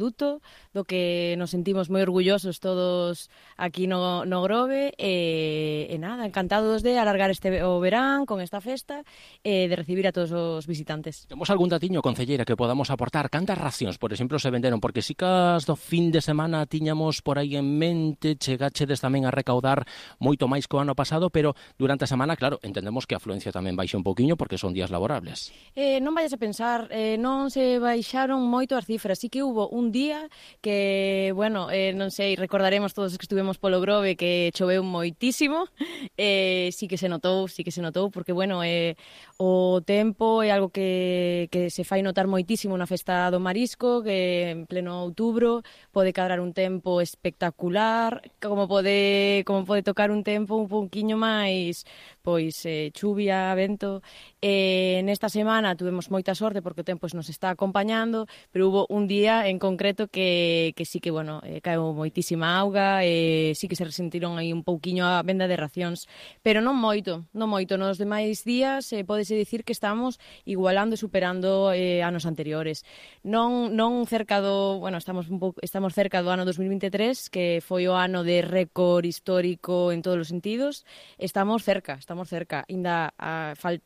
produto, do que nos sentimos moi orgullosos todos aquí no Grove, e nada, encantados de alargar o verán con esta festa e de recibir a todos os visitantes. Temos algún datiño, concelleira, que podamos aportar? Cantas racións, por exemplo, se venderon? Porque si cas do fin de semana tiñamos por aí en mente, chegachedes tamén a recaudar moito máis que o ano pasado, pero durante a semana, claro, entendemos que a afluencia tamén baixa un poquinho porque son días laborables. Non vayas a pensar, non se baixaron moito as cifras, sí que hubo un día que, bueno, non sei, recordaremos todos os que estuvemos polo Grove que choveu moitísimo, sí que se notou, porque, bueno, o tempo é algo que se fai notar moitísimo na festa do marisco, que en pleno outubro pode cadrar un tempo espectacular, como pode tocar un tempo un pouquiño máis, pois, chuvia, vento. Nesta semana tuvemos moita sorte porque o tempo nos está acompañando, pero hubo un día en concreto que sí que, bueno, caeu moitísima auga, sí que se resentiron aí un pouquiño a venda de racións, pero non moito. Nos demais días pódese dicir que estamos igualando e superando anos anteriores. Non cerca do, bueno, estamos cerca do ano 2023, que foi o ano de récord histórico en todos os sentidos. Estamos cerca. Ainda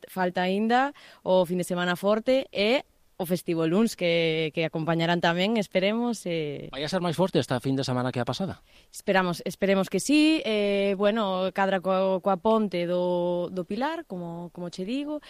falta ainda o fin de semana forte e o Festivo Luns que acompañarán tamén, esperemos. Vai a ser máis forte esta fin de semana que a pasada? Esperemos que sí. Bueno, cadra coa ponte do Pilar, como che digo.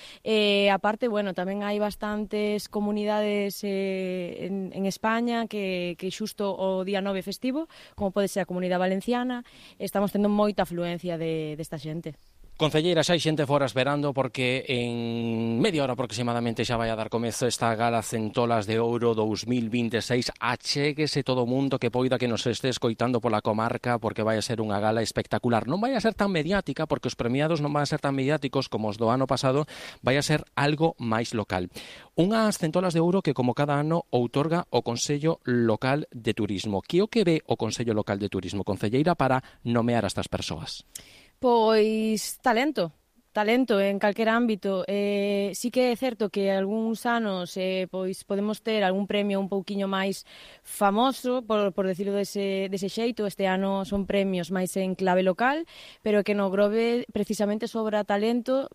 Aparte, bueno, tamén hai bastantes comunidades en España que xusto o día 9 festivo, como pode ser a Comunidade Valenciana, estamos tendo moita afluencia desta xente. Concelleira, xa hai xente fora esperando porque en media hora aproximadamente xa vai a dar comezo esta gala Centolas de Ouro 2026. Achéguese todo o mundo que poida que nos este escoitando pola comarca, porque vai a ser unha gala espectacular. Non vai a ser tan mediática, porque os premiados non van a ser tan mediáticos como os do ano pasado, vai a ser algo máis local. Unhas Centolas de Ouro que, como cada ano, outorga o Consello Local de Turismo. Que o que ve o Consello Local de Turismo, concelleira, para nomear a estas persoas? Pois talento en calquera ámbito. Sí que é certo que algúns anos pois podemos ter algún premio un pouquiño máis famoso, por decirlo dese xeito. Este ano son premios máis en clave local, pero que no Grove precisamente sobra talento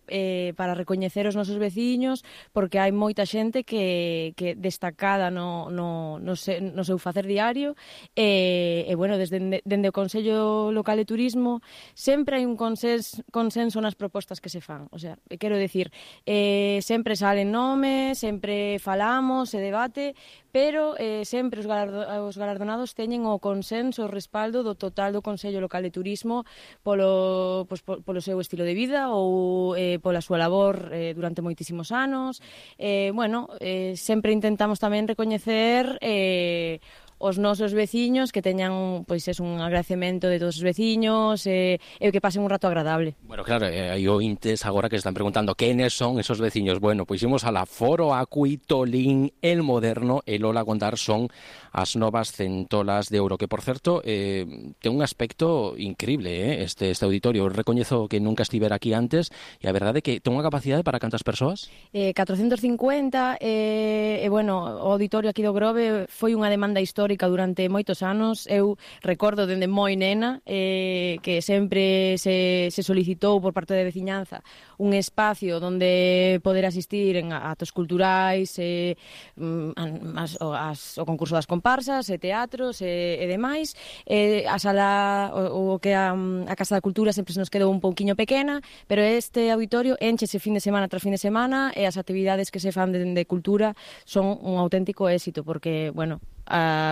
para recoñecer os nosos veciños, porque hai moita xente que destacada no seu facer diario, e bueno, dende o Consello Local de Turismo sempre hai un consenso nas propostas que se fan. O sea, quero dicir, sempre salen nomes, sempre falamos, se debate, pero sempre os galardonados teñen o consenso, o respaldo do total do Consello Local de Turismo polo seu estilo de vida ou pola súa labor durante moitísimos anos. Bueno, sempre intentamos tamén recoñecer os nosos veciños, que teñan, pois, un agradecemento de todos os veciños e que pasen un rato agradable. Bueno, claro, hai ointes agora que están preguntando quenes son esos veciños. Bueno, pois imos a la Foro, Acui, Tolín, El Moderno e Lola Gondar son as novas Centolas de Ouro, que, por certo, ten un aspecto increíble, este auditorio. Eu recoñezo que nunca estivera aquí antes e a verdade é que ten unha capacidade para cantas persoas? 450, bueno, o auditorio aquí do Grove foi unha demanda histórica durante moitos anos. Eu recordo dende moi nena que sempre se solicitou por parte da veciñanza un espacio onde poder asistir en actos culturais, o concurso das comparsas, e teatros e demais. A sala, o que a Casa da Cultura sempre se nos quedou un pouquiño pequena, pero este auditorio enchese fin de semana tras fin de semana e as actividades que se fan de cultura son un auténtico éxito, porque, bueno,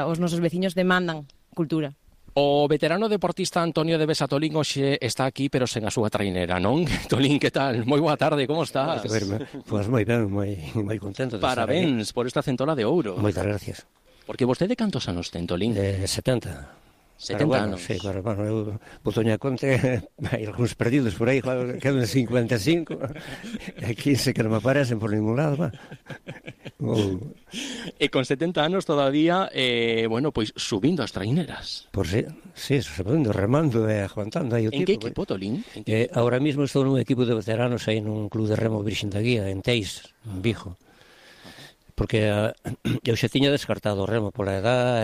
os nosos veciños demandan cultura. O veterano deportista Antonio de Besa Tolín hoxe está aquí, pero sen a súa trainera, non? Tolín, que tal? Moi boa tarde, como estás? Pois moi ben, moi contento de Parabéns por esta Centola de Ouro. Moitas gracias. Porque vostede cantos anos ten, Tolín? 70. 70 bueno, anos. Sí, pero bueno, eu putoña conte, hai algúns perdidos por aí, claro, quedan 55, e 15 que non me aparecen por ningún lado, va. E con 70 anos todavía, bueno, pois subindo as traineras. Por sí, subindo, remando e aguantando aí o tipo. En que equipo, Tolín? Ahora mismo estou nun equipo de veteranos aí nun club de remo Virxen da Guía, en Teis, en Vigo. porque eu xa tiña descartado o remo pola edad